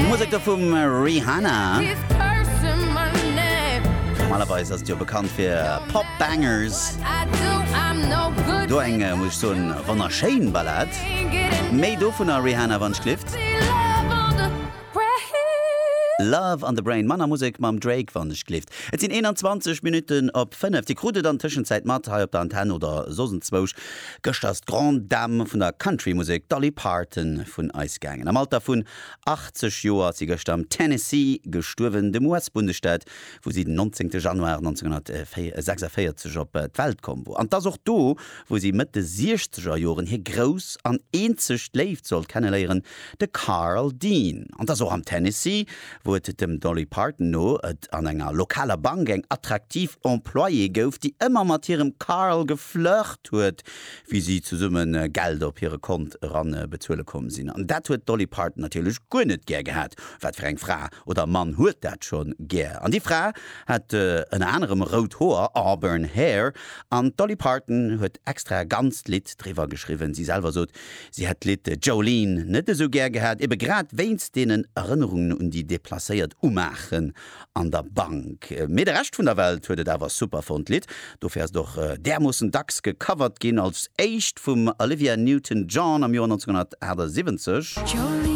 Musek do vum Rihanna. Normalerweis ass et jo bekannt fir Pop Bangers. Do eng, muss ech soen, wonnerschéin Ballad. Méi dovunner Rihanna wann ech glift. Love on the Brain, manner Musek mam Drake wann ech glift. Et sinn 21 Minutten op 5. Dir krut et an Tëschenzäit mat hei op der Antenn oder soss enzwousch. Gëschter ass d'Grande Dame vun der Country-Musek, d'Dolly Parton, vun eis gaangen. Am Alter vun 80 Joer ass si gëschter am Tennessee gestuerwen, dem US-Bundesstaat, wou si den 19. Januar 1946 op d'Welt komm wor. An 't ass och do, wou si Mëtt de siechzeger Joren hir grouss an eenzeg Léift sollt kenneléieren, De Carl Dean. An 't ass och am Tennessee, wou et dem Dolly Parton no et an enger lokaler Bank eng attraktiv Employée gouf, déi ëmmer mat hirem Carl geflirt huet, wéi si zesumme Geld op hire Kont eran bezuele komm sinn. An dat huet d'Dolly Parton natierlech guer net gär gehat. Wat fir eng Fra oder Mann huet dat schonn gär? An déi Fra hat ënner anerem rout Hoer, auburn hair, an d'Dolly Parton huet extra e ganzt Lidd driwwer geschriwwen. Si selwer sot, Si hätt d'Lidd Jolene net esou gär gehat, ebe grad wéinst deenen Erënnerungen un déi deplacéiert Umaachen an der Bank. Mee de Rescht vun der Welt huet et awer super fonnt, d'Lidd. Dofir ass et och därmoossen dacks gecovert ginn, als éischt vum Olivia Newton-John am Joer 1978.